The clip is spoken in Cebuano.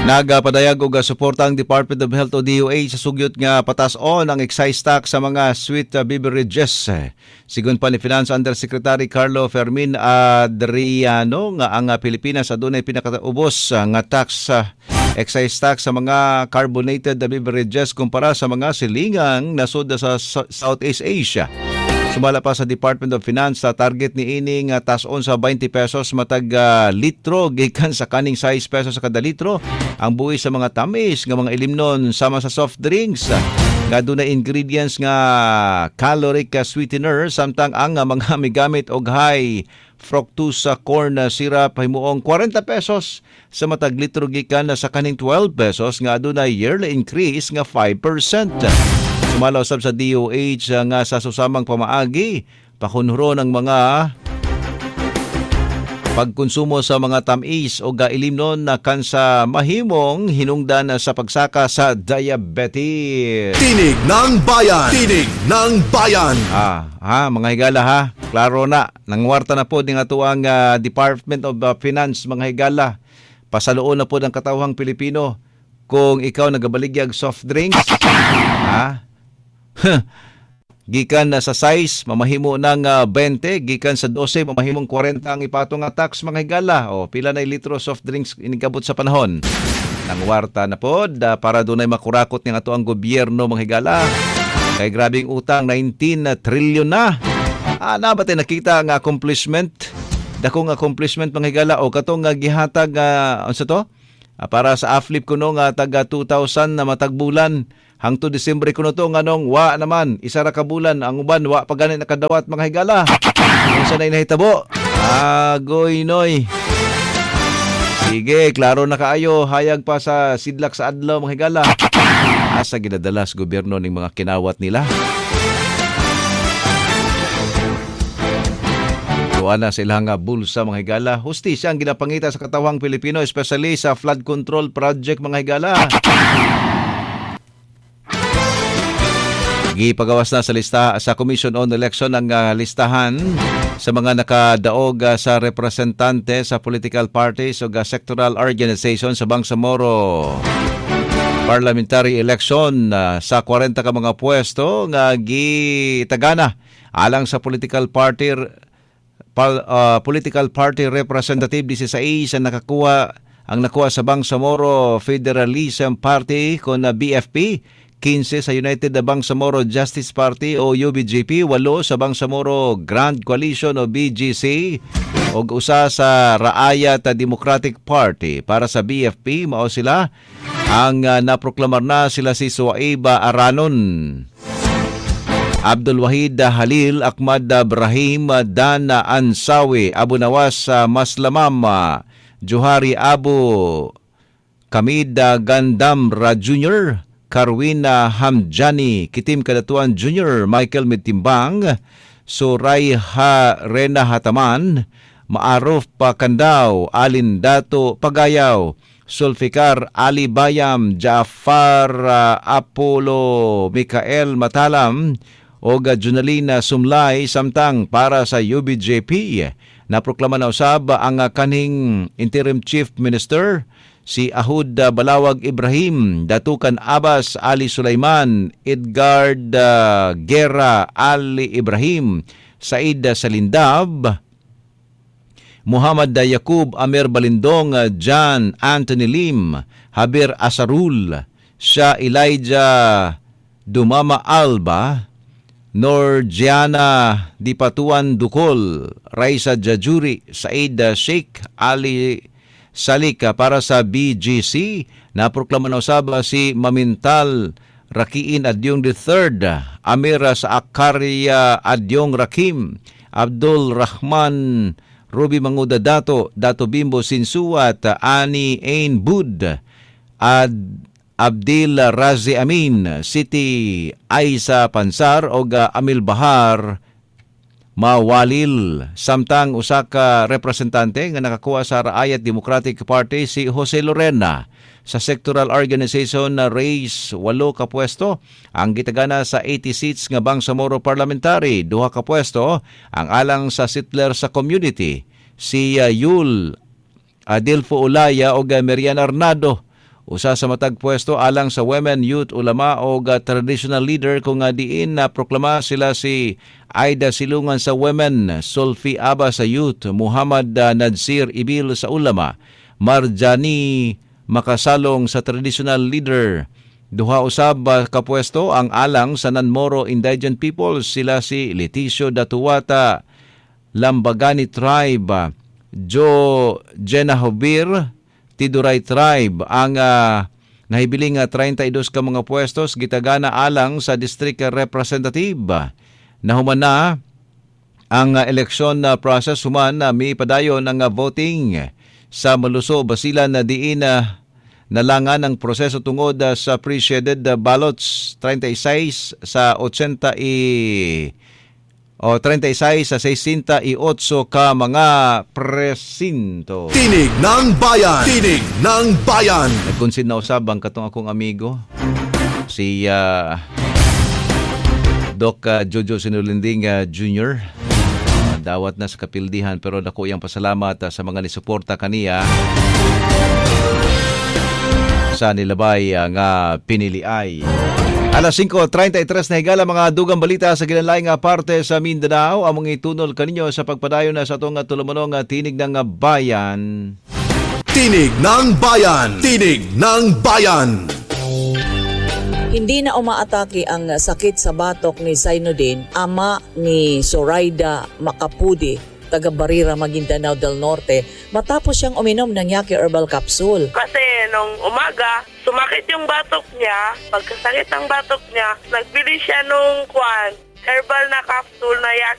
Nagapadayag og suporta ang Department of Health o DOH sa sugyot nga patas-on ang excise tax sa mga sweet beverages. Sigon pa ni Finance Undersecretary Carlo Fermin Adriano nga ang Pilipinas adunay pinakaubos nga tax, excise tax sa mga carbonated beverages kumpara sa mga silingang nasod sa Southeast Asia. Sumala pa sa Department of Finance sa target ni ini nga taas-on sa 20 pesos matag litro gikan sa kaning 6 pesos sa kada litro ang buwis sa mga tamis nga mga ilimnon sama sa soft drinks nga dunay ingredients nga caloric sweetener, samtang ang mga migamit og high fructose corn syrup himuong 40 pesos sa matag litro gikan sa kaning 12 pesos nga adunay yearly increase nga 5%. Sumala usab sa DOH nga sa susamang pamaagi pakunhuro ng mga pagkonsumo sa mga tamis o ilimnon na kansa mahimong hinungdan sa pagsaka sa diabetes. Tinig ng Bayan! Tinig ng Bayan! Mga higala ha, klaro na. Nangwarta na po din ato ang Department of Finance, mga higala. Pasaluon na po ng katawhang Pilipino kung ikaw nagabaligyag soft drinks. Ha? Gikan na sa size, mamahimo ng 20, gikan sa 12, mamahimong 40 ang ipatong nga tax, mga higala. O, pila na litro soft drinks inigabot sa panahon. Nangwarta na pod para dunay makurakot nga ato ang gobyerno, mga higala. Kay grabing utang, 19 trillion na. Na ba tayo nakita ang accomplishment? Dakong accomplishment, mga higala. O katong gihatag, unsa to? Para sa AFLIP kuno nga taga 2,000 na matagbulan. Hangtod Disyembre kuno to nganong wa naman isa ra ka bulan ang uban wa pa gani nakadawat, mga higala. Unsa na nahitabo? Agoy noy. Sige, klaro na kaayo, hayag pa sa sidlak sa adlaw, mga higala. Asa ginadala sa gobyerno ning mga kinawat nila? Tuwa na sa ilang bulsa, mga higala. Hustisya ang ginapangita sa katawang Pilipino, especially sa flood control project, mga higala. Gipagawas na sa lista sa Commission on Election ang listahan sa mga nakadaog sa representante sa political parties o sectoral organization sa Bangsamoro parliamentary election sa 40 ka mga pwesto nga gitagana alang sa political party representative 16 ang nakakuha ang nakuha sa Bangsamoro Federalism Party kon BFP, 15 sa United Bangsamoro Justice Party o UBJP, 8 sa Bangsamoro Grand Coalition o BGC, ug usa sa Raayat Democratic Party. Para sa BFP, mao sila ang naproklamar na sila si Suaiba Aranon, Abdul Wahid Halil, Ahmad Ibrahim, Dana Ansawi, Abu Nawas Maslamam, Johari Abu Kamid Gandamra Jr., Karwina Hamjani, Kitim Kadatuan Jr., Michael Mitimbang, Surayha Rena Hataman, Maarof Pakandaw, Alin Dato Pagayaw, Sulfikar Ali Bayam, Jafar Apollo Mikael Matalam, o Junalina Sumlay. Samtang para sa UBJP, naproklama na usab ang kanhing Interim Chief Minister si Ahud Balawag Ibrahim, Datukan Abbas Ali Sulaiman, Edgard Guerra Ali Ibrahim, Said Salindab, Muhammad Yacub Amir Balindong, John Anthony Lim, Javier Asarul, Shah Elijah Dumama Alba, Norgiana Dipatuan Dukol, Raisa Jajuri, Said Sheikh Ali Salika. Para sa BGC, naproklama na usab si Mamintal Rakiin Adyong III, Amira sa Akaria Adyong Rakim, Abdul Rahman Ruby Manguda Dato, Dato Bimbo Sinsuat, Ani Ain Bud, Ad Abdil Razi Amin, City Aisa Pansar og Amil Bahar Mawalil. Samtang usa ka representante nga nakakuha sa Raayat Democratic Party si Jose Lorena. Sa sectoral organization na race, 8 ka pwesto ang gitagana sa 80 seats nga Bangsamoro Parliamentary, 2 ka pwesto ang alang sa settler sa community si Yul Adelfo Olaya og Merian Arnado, Usa sa matag pwesto alang sa women, youth, ulama o traditional leader kung diin na proklama sila si Aida Silungan sa women, Sulfi Aba sa youth, Muhammad Nadzir Ibil sa ulama, Marjani Makasalong sa traditional leader. Duha usab ka pwesto ang alang sa Nanmoro Indigent People, sila si Leticio Datuwata, Lambagani Tribe, Joe Jenahobir, Tiduray Tribe. Ang nahibiling 32 ka mga pwestos gitagana alang sa district representative. Nahuman na ang eleksyon na process, human na miipadayon ang voting sa Maluso, Basilan na diin nalangan ang proseso tungod sa pre-shaded ballots, 36 sa 80 i o 36 sa 68 ka mga presinto. Tinig ng Bayan! Tinig ng Bayan! Nagkonsid na usab ang katong akong amigo, si Doc Jojo Sinulinding Jr. Dawat na sa kapildihan pero dako iyang pasalamat sa mga nisuporta kaniya sa nilabay nga piniliay. Alas 5:33 na higala, mga dugang balita sa gilanlaing nga parte sa Mindanao among itunol kaninyo sa pagpadayon na sa atong tulumonong Tinig ng Bayan. Tinig ng Bayan! Tinig ng Bayan! Hindi na umaatake ang sakit sa batok ni Zainuddin, ama ni Zoraida Macapudi, taga Barira, Maguindanao del Norte, matapos siyang uminom ng Yaki Herbal Capsule. Kasi nung umaga, sumakit yung batok niya. Pagkasakit ng batok niya, nagbili siya nung kwan, herbal na capsule na Yaki.